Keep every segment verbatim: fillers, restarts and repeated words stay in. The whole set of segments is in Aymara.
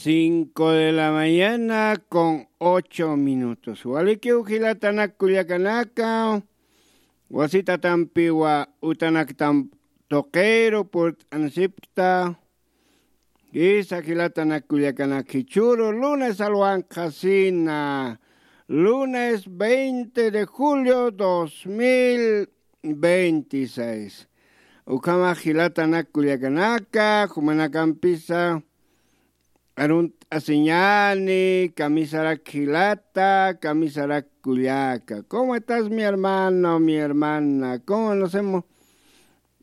Cinco de la mañana con ocho minutos. Walikiw jilatanak kullakanaka, wasitatampiwa utanaktam tuqiru purt'ansipkta. Isa jilatanak kullakanak jichhüru lunes alwanqhasina, lunes veinte de julio dos mil veintiséis. Ukhamax jilatanak kullakanaka, jumanakampisa arunt'asiñäni, kamisarak jilata, kamisarak kullaka. ¿Cómo estás, mi hermano, mi hermana? ¿Cómo nos hemos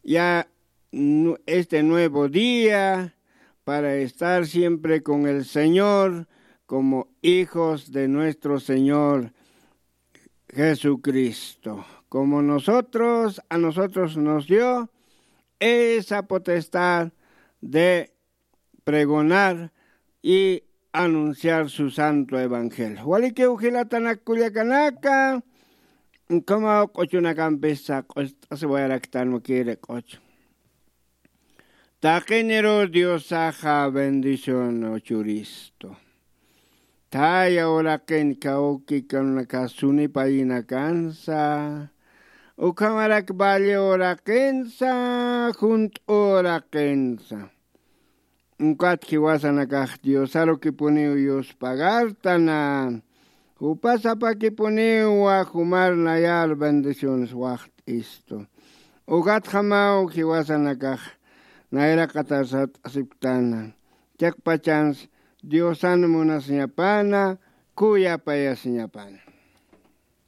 ya nu-, este nuevo día para estar siempre con el Señor como hijos de nuestro Señor Jesucristo? Como nosotros, a nosotros nos dio esa potestad de pregonar y anunciar su santo evangelio. Walikiw jilatanak kullakanaka, ukhamaw q'uchunakampisa q'ust'asiwayaraktan, mukiri q'uchu. Taqiniru Diosaxa bendición churistu. Thaya uraqin kawkikanaka sunipayinakansa, ukhamarak valle uraqinsa, junt'u uraqinsa. Ukat jiwasanakax Diosarukipuniw yuspagartana. Jupasapakipuniwa jumar nayar bendiciones waxt'istu. Ukatjamaw jiwasanakax nayraqatarsat'asipktana. Chiqpachans Diosan munasiñapana, kuyapayasiñapana.